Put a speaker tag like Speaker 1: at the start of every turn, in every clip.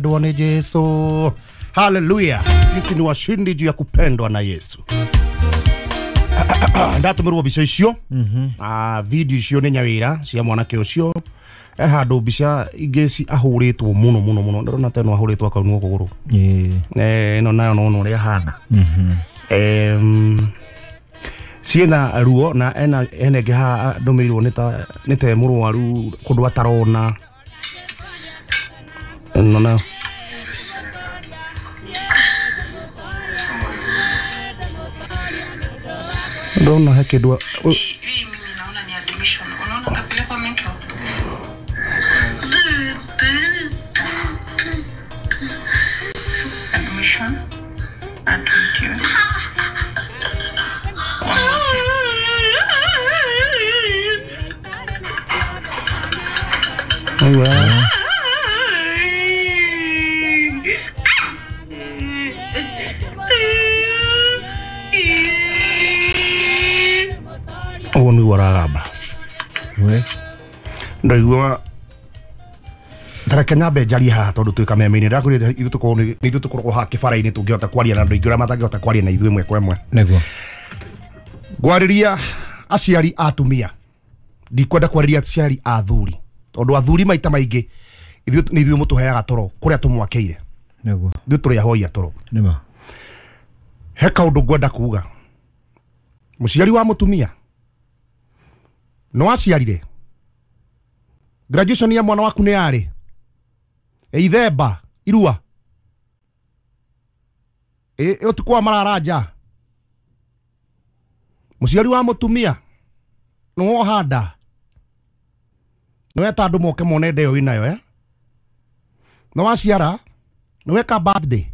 Speaker 1: Kupendwa ni Yesu. Haleluya. Sisi ni washindi juu ya kupendwa na Yesu. Ndatumirwo mbica icio. Video icio nĩ nyawĩra cia mwanake ũcio. Handũ mbica ingĩ ci ahũrĩtwo mũno mũno mũno. Ndĩrona ta ĩno ahũrĩtwo akaunwo kũgũrũ. Ĩno nayo no ũrĩa hana. Ciĩna ruo na ena ĩngĩ haha ndũmĩirwo nĩ ta mũrwaru kũndũ atarona. Ĩno nayo. Ndona he kĩndũ
Speaker 2: Hii mimi naona ni admission. Unaona kapelekwa mental. Admission. Admitiwe. Wamuassess.
Speaker 1: Aiwa. Ũguo nĩguo aragamba. Ndaigua tareke nyambe njarie haha tondũ twĩ kameme-inĩ. Ndakwĩrire ithuĩ tũkoragwo nĩ ithuĩ tũkoragwo haha kĩbara-inĩ tũngĩhota kwaria na andũ aingĩ ũrĩa matangĩhota kwaria na ithuĩ ĩmwe kwa ĩmwe.
Speaker 3: Nĩguo.
Speaker 1: Ngwarĩria aciari a atumia. Ndikwenda kwarĩria aciari a athuri tondũ athuri maita maingĩ ithuĩ nĩ ithuĩ mũtũheaga toro kũrĩa tũmwakĩire.
Speaker 3: Nĩguo.
Speaker 1: Ithuĩ tũrĩ ahoi a toro.
Speaker 3: Nĩma.
Speaker 1: He kaũndũ ngwenda kuga. Mũciari wa mũtumia no aciarire graduation ya mwana waku nĩ yarĩ ithemba irua ũtukũ wa mararanja. Mũciari wa mũtumia nĩ wohanda nĩ weta andũ moke mone ndeo wĩnayo nĩ waciara nĩ weka birthday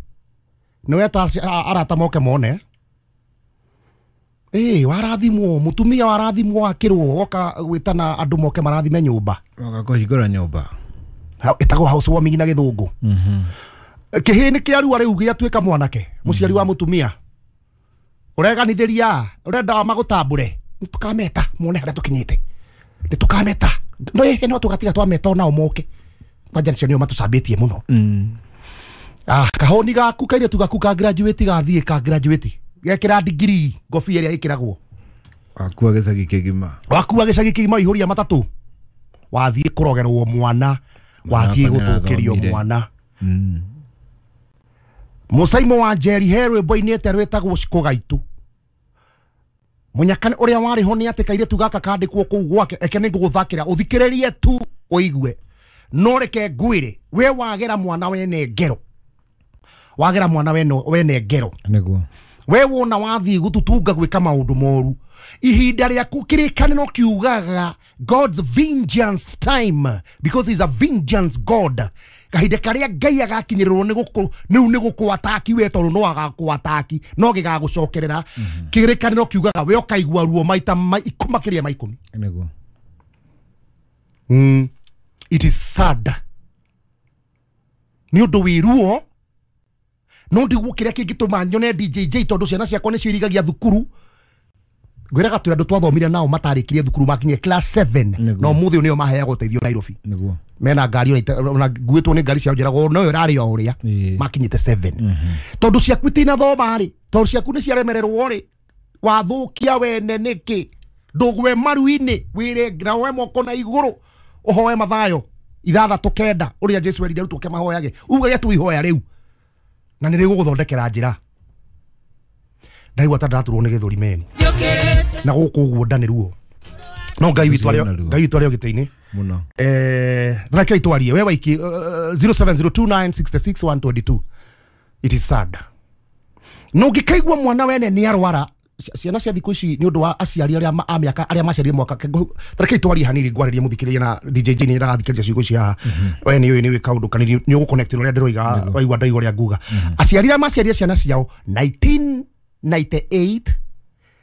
Speaker 1: nĩ weta arata moke mone. Warathimwo mutumia warathimwo wakirwo woka gwitana andu moke marathime nyumba
Speaker 3: woka kuhingura nyumba
Speaker 1: itagwo house warming na githungu. Kihii ni kiarua riu giatuika mwanake muciari wa mutumia ureganithiria urenda magutambure nitukameta muone haria tukinyite nitukameta no no tugatiga twameta onao moke kwanja nicio nio matucambĩtie muno. Kahoni gaku kairĩtu gaku ka graduate gathie ka graduate gekira degree ngobia ĩrĩa ĩkĩragwo
Speaker 3: wakua gĩcagi kĩgima
Speaker 1: wakua gĩcagi kĩgima ihũria matatũ wathiĩ kũrogerwo mwana wathiĩ gũthũkĩrio mwana. Mũcaimo wa Njeri he rwĩmbo-inĩ ete rwĩtagwo Cikũgaitu. Mũnyaka ũrĩa warĩ ho nĩ atĩ kairĩtu gaka kandĩkwo kũu gwake eke nĩ ngũgũthakĩra ũthikĩrĩrie tu ũigue no reke ngwĩre we wagera mwana wene ngero wagera mwana wene ngero
Speaker 3: nĩguo
Speaker 1: we wona wathi gututunga gwika maundu moru ihinda riaku kirikaniro kiugaga God's vengeance time because he's a vengeance God. Kahinda karia Ngai agakinyirirwo ni guku niu ni gukwataki we tondu no agakwataki no gigagucokerera. Kirikaniro kiugaga we ukaigua ruo maita makiria ma 10
Speaker 3: nĩguo.
Speaker 1: It is sad ni undu wi ruo no ndiguo kiria kingituma nyone DJJ tondu ciana ciakwa ni ciirigagia thukuru ngwiraga twi andu twathomire nao matarikirie thukuru makinye class 7 no muthi nio maheagwo uteithio Nairobi
Speaker 3: nĩguo
Speaker 1: mena ngari ona nguĩtwo nĩ ngari cia njiragwo no ĩrarĩ o ũrĩa makinyĩte 7 tondu ciaku itinathoma rĩ tondu ciaku nĩ ciaremererwo rĩ wathukia wene nĩkĩ ndũgwe maru-inĩ wĩre na woe moko na igũrũ ũhoe mathayo 6:9 ũrĩa Jesu erire arutwo ake mahoyage ugage tu ihoya rĩu na nĩ rĩgũgũthondekera njĩra. Ndaigua ta ndaturwo nĩ gĩthũri meni na gũkũ ũguo nda nĩ ruo no Ngai witũ arĩ o gĩtĩ-inĩ
Speaker 3: mũno.
Speaker 1: Reke itwarie we waiki 0702966122. It is sad no ngĩkaigua mwana wene nĩ arwara ciana cia thikũ ici nĩ ũndũ wa aciari arĩa a mĩaka arĩa maciarire mwaka reke itwarie hanini ngwarĩrie mũthikĩrĩria na DJJ nĩ arathikĩrĩria ciugo ici haha we nĩ ũĩ nĩ ũĩ kaũndũ kanini nĩ ũgũconnect na ũrĩa ndĩroiga waigua ndaigua ũrĩa nguga. Aciari arĩa maciarire ciana ciao 1998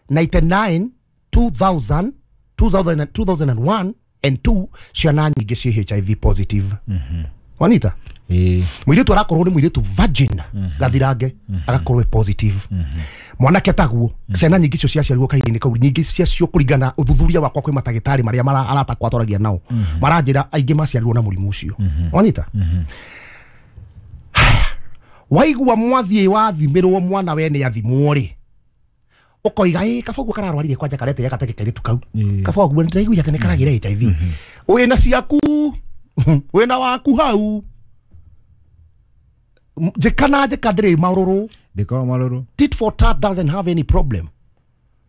Speaker 1: 99 2000 2000 2001 and 2 ciana nyingĩ ciĩ HIV positive. Wanita Mũirĩtu arakorwo nĩ mũirĩtu virgin gathirange agakorwo e positive. Mwanake taguo ciana nyingĩ icio ciaciarirwo kahinda-inĩ kau nyingĩ ciacio kũringana ũthuthuria wakwa kwĩ matagĩtarĩ marĩa arata twaragia nao maranjĩra aingĩ maciarirwo na mũrimũ ũcio. Wanyita Waigua mwathiĩ wathimirwo mwana we nĩ athimwo rĩ ukoiga ĩ kaba guo kararwarire kwanja karete gateke kairitu kau kaba guo ndiraiguire atĩ nĩ karagĩre HIV wĩna ciaku wĩna waku hau njĩka na njĩka ndĩrĩ marũrũ
Speaker 3: ndĩkoragwo marũrũ.
Speaker 1: Tit for tat doesn't have any problem.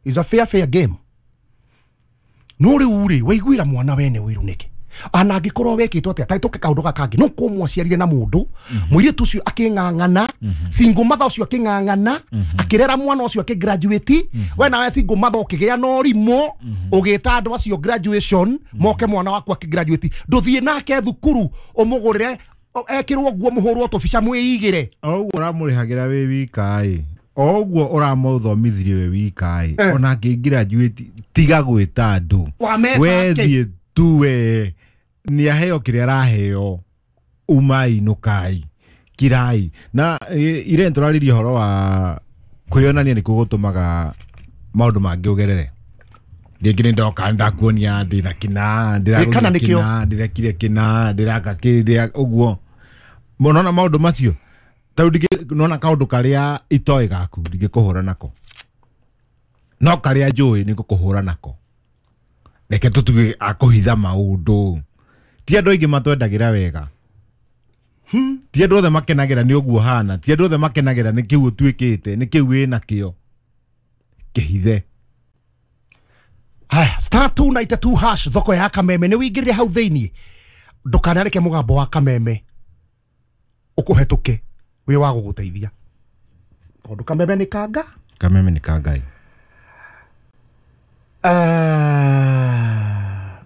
Speaker 1: It's a fair game. No rĩu rĩ waiguĩra mwana wene ũiru nĩkĩ ana angĩkorwo wekĩtwo atĩa ta tũke kaũndũ gaka kangĩ no kũmwaciarire na mũndũ mũirĩtu ũcio akĩng'ang'ana single mother ũcio akĩng'ang'ana akĩrera mwana ũcio akĩgraduate we nawe single mother ũkĩgĩa na ũrimũ ũgĩta andũ acio graduation moke mwana waku akĩgraduate ndũthiĩ nake thukuru ũmũgũrĩre ekĩrwo nguo mũhũrwo tũbica mwĩigĩre
Speaker 3: o ũguo ũramũrĩhagĩra wĩ wika ĩ o ũguo ũramũthomithirie wĩ wika ĩ ona angĩgraduate tiga gwĩta andũ wethiĩ tu we nĩ aheo kĩrĩa araheo umai nũkai kirai na ire tũrarĩria ũhoro wa kwĩyonania nĩkuo gũtũmaga maũndũ mangĩ ũgerere rĩngĩ nĩ ndoka ndakuonia ndĩna kĩna ndĩragũrire kĩna ndĩrekire kĩna ndĩraka kĩrĩa ũguo nona maũndũ macio tarĩu nona kaũndũ karĩa itoĩ gaku ndingĩkũhũra nako no karĩa njũĩ nĩ ngũkũhũra nako reke tũtuge akũhitha maũndũ ti andũ aingĩ matwendagĩra wega ti andũ othe makenagĩra nĩ ũguo hana ti andũ othe makenagĩra nĩ kĩu ũtuĩkĩte nĩ kĩu wĩna kĩo kĩhithe.
Speaker 1: Haya, star 292 hash thoko ya Kameme nĩ wĩingĩrire hau thĩinĩ ndũkanareke mũgambo wa Kameme ũkũhetũke wĩ wa gũgũteithia tondũ Kameme nĩ kanga.
Speaker 3: Kameme nĩ kangai.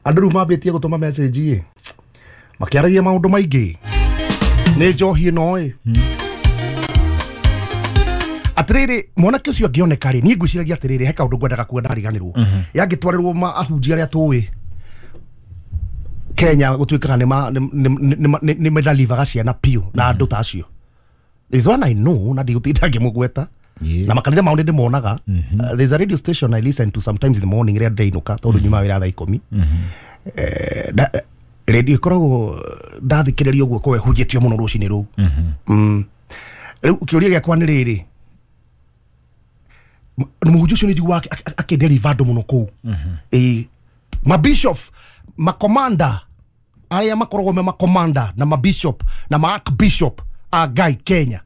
Speaker 1: Andũ rĩu mambĩtie gũtũma message ĩ makĩaragia maũndũ maingĩ nĩ njohi ĩno ĩ atĩrĩrĩ mwanake ũcio angĩoneka rĩ niĩ ngwĩciragia atĩrĩrĩ he kaũndũ ngwendaga kuga ndariganĩrwo yangĩtwarĩrwo ahunjia arĩa tũĩ Kenya gũtuĩkaga nĩ medalivaga ciana piũ na andũ ta acio. There's one I know na ndigũtinda ngĩmũgweta na makanitha mao nĩ ndĩmonaga. There's a radio station I listen to sometimes in the morning rĩrĩa ndĩinũka tondũ nyuma wĩra thaa 10 radio ĩkoragwo ndathikĩrĩria ũguo korwo ĩhunjĩtio mũno rũcinĩ rũu. Rĩu kĩũria gĩakwa nĩ rĩrĩ mũhunjia ũcio nĩ njiguaga akĩdeliver andũ mũno kũu mabishop makomanda arĩa makoragwo me makomanda na mabishop na maarchbishop a Ngai Kenya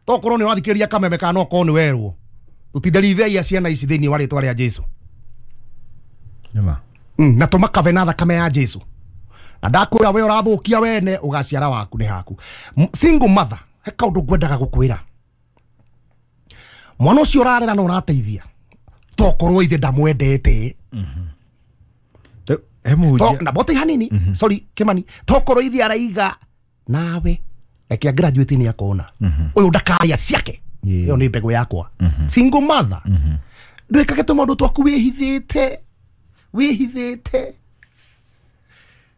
Speaker 1: tokorwo nĩ ũrathikĩrĩria Kameme kana no okorwo nĩ werwo tũtinderiveia ciana ici thĩinĩ wa rĩtwa rĩa Jesu na tũmakave na thakame ya Jesu na ndakwĩra we ũrathũkia wene ũgaciara waku nĩ haku. Single mother he kaũndũ ngwendaga gũkwĩra mwana ũcio ũrarera na ũrateithia tokorwo ithe ndamwendete na bote hanini sorry Kimani tokorwo ithe araiga nawe reke graduate ni akona uyu ndakaria ciake iyo ni mbegu yakwa. Single mother ndwikage tũmaũndũ twaku wĩhithĩte wĩhithĩte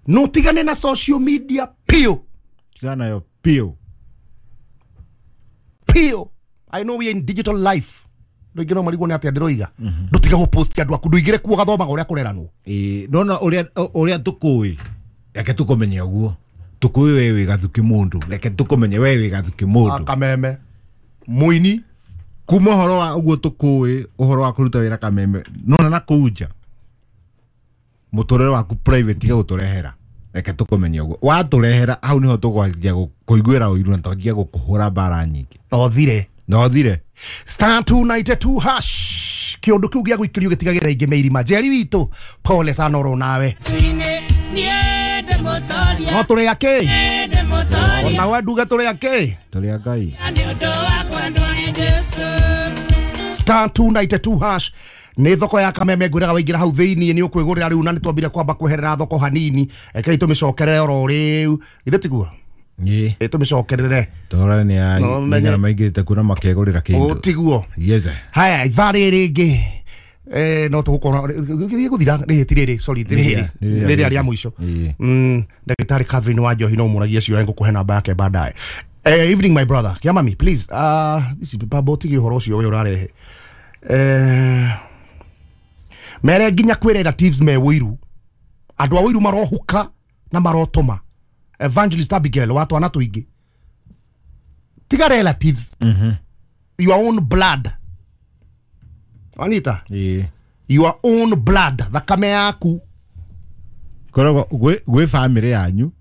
Speaker 1: no tigane na social media piũ
Speaker 3: tigana nayo piũ
Speaker 1: piũ. I know we are in digital life ndũingĩ no marigwo nĩ atĩa ndĩroiga ndũtige gũpost andũ aku ndũigĩre kuo gathomaga ũrĩa kũreranwo
Speaker 3: nona ũrĩa tũkũĩ reke tũkũmenye ũguo tũkũĩ we wĩ gathuki mũndũ reke tũkũmenye we wĩ gathuki mũndũ
Speaker 1: Kameme mũini
Speaker 3: kuma ũhoro wa ũguo tũkũĩ ũhoro wa kũruta wĩra Kameme nona na kũu nja mũtũrĩre waku private tiga gũtũrehera reke tũkũmenye ũguo watũrehera hau nĩho tũkwanjia kũiguĩra ũiru na twanjia gũkũhũra mbara nyingĩ no thire
Speaker 1: star 292 hash kĩũndũ kĩu gĩa gũikĩrio gĩtigagĩra ingĩ meirima Njeri witũ pole sana oro nawe no tũrĩ akĩ ona we nduge tũrĩ akĩ
Speaker 3: tũrĩ a Ngai
Speaker 1: star 292 hash nĩ thoko ya Kameme ngwĩraga waingĩra hau thĩinĩ nĩ ũkwĩgũrĩra rĩu na nĩ twambire kwamba kweherera thoko hanini rekei tũmĩcokerere oro rĩu githĩ tiguo ĩ tũmĩcokerere
Speaker 3: tũrore nĩ ya maingĩrĩte kuo na makegũrĩra kĩndũ
Speaker 1: tiguo
Speaker 3: yes
Speaker 1: haya ithaa rĩrĩ rĩngĩ no tũgũkorwo gĩthiĩ gũthira rĩrĩ ti rĩrĩ sorry rĩrĩ rĩrĩa rĩa mũico ndagĩtarĩ Catherine wa Njohi no mũragie ciũria ngũkũhe namba yake baadaye. Evening my brother Kiamami please this is babo tigi ũhoro ũcio we ũrarehe mere nginya kwĩ relatives me wũiru andũ a wũiru marohuka na marotũma Evangelist Abigail wa twana tũingĩ tiga Tiga relatives. Your own blood. Wanyita?
Speaker 3: Ĩĩ.
Speaker 1: Your own blood, thakame yaku.
Speaker 3: Koragwo gwĩ family yanyu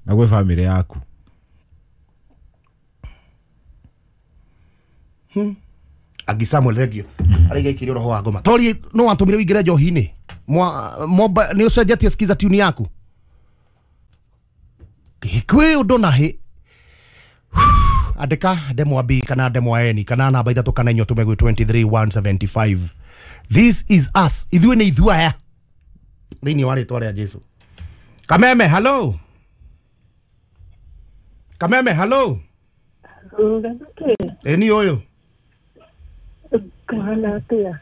Speaker 3: na gwĩ family yaku.
Speaker 1: Agi Samuel thengio. Araiga ikirio roho wa ngoma. Tori no watumire wingire njohi-inĩ. Mwa nĩ ũcenjetie skiza tune yaku. Kwĩ ũndũ na hĩ. Andĩka ndemwa B kana ndemwa N kana namba 3 kana 4 ũtũme gwĩ 23175. This is us. Ithuĩ nĩ ithuĩ aya. Thĩinĩ wa rĩtwa rĩa Jesu. Kameme, hello. Kameme, hello. Eni ũyũ.
Speaker 4: Kũhana atĩa?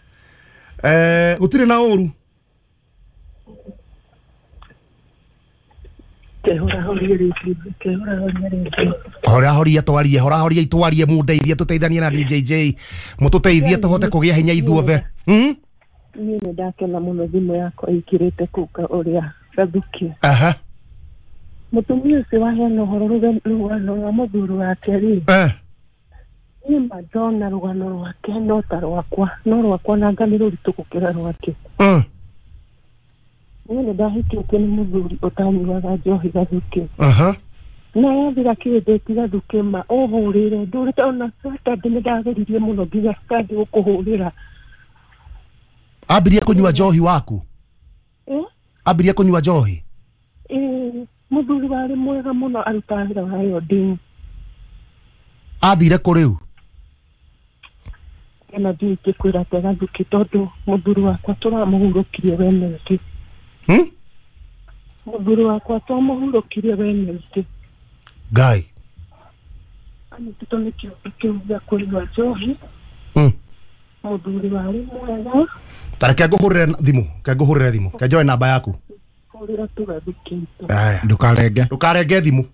Speaker 1: Gũtirĩ na ũru. Horahoria twarie, horahoria itwarie mundeithie tuteithanie na DJJ. Mututeithie tuhote kugia hinya ithuothe. Niĩ
Speaker 4: nĩ ndakena mũno thimũ yakwa ĩkĩrĩte kuka ũrĩa Gathukia.
Speaker 1: Aha.
Speaker 4: Mũtumia ũcio waheana ũhoro rũgano rwa mũthuri wake rĩ. Niĩ ma ndona rũgano rwake no ta rwakwa, no rwakwa nanga nĩ rũritũ gũkĩra rwake. Niĩ nĩ ndahikĩtio nĩ mũthuri ũtanyuaga njohi Gathukia.
Speaker 1: Aha.
Speaker 4: Na yathira kĩndũ Gathukia ma ũhũrĩre ndũrĩte ona Saturday nĩ ndageririe mũno nginya Sunday gũkũhũrĩra.
Speaker 1: Ambirie kũnyua njohi waku? Ambirie kũnyua njohi?
Speaker 4: Mũthuri warĩ mwega mũno arutaga wĩra wa yodini.
Speaker 1: Athire kũ rĩu?
Speaker 4: Ena ndiũĩ ingĩkwĩra atĩa Gathukia tondũ mũthuri wakwa tũramũhurũkirie Wednesday. Mũthuri wakwa twamũhurũkirie Wednesday.
Speaker 1: Ngai.
Speaker 4: Anyitĩtwo nĩ kĩũndũ kĩu gĩa kũnyua njohi. Mũthuri warĩ mwega.
Speaker 1: Ta reke ngũhũrĩre thimũ, reke ngũhũrĩre thimũ, reke njoe namba yaku.
Speaker 4: Hũrĩra tu Gathukia.
Speaker 3: Ndũkarenge.
Speaker 1: Ndũkarenge thimũ.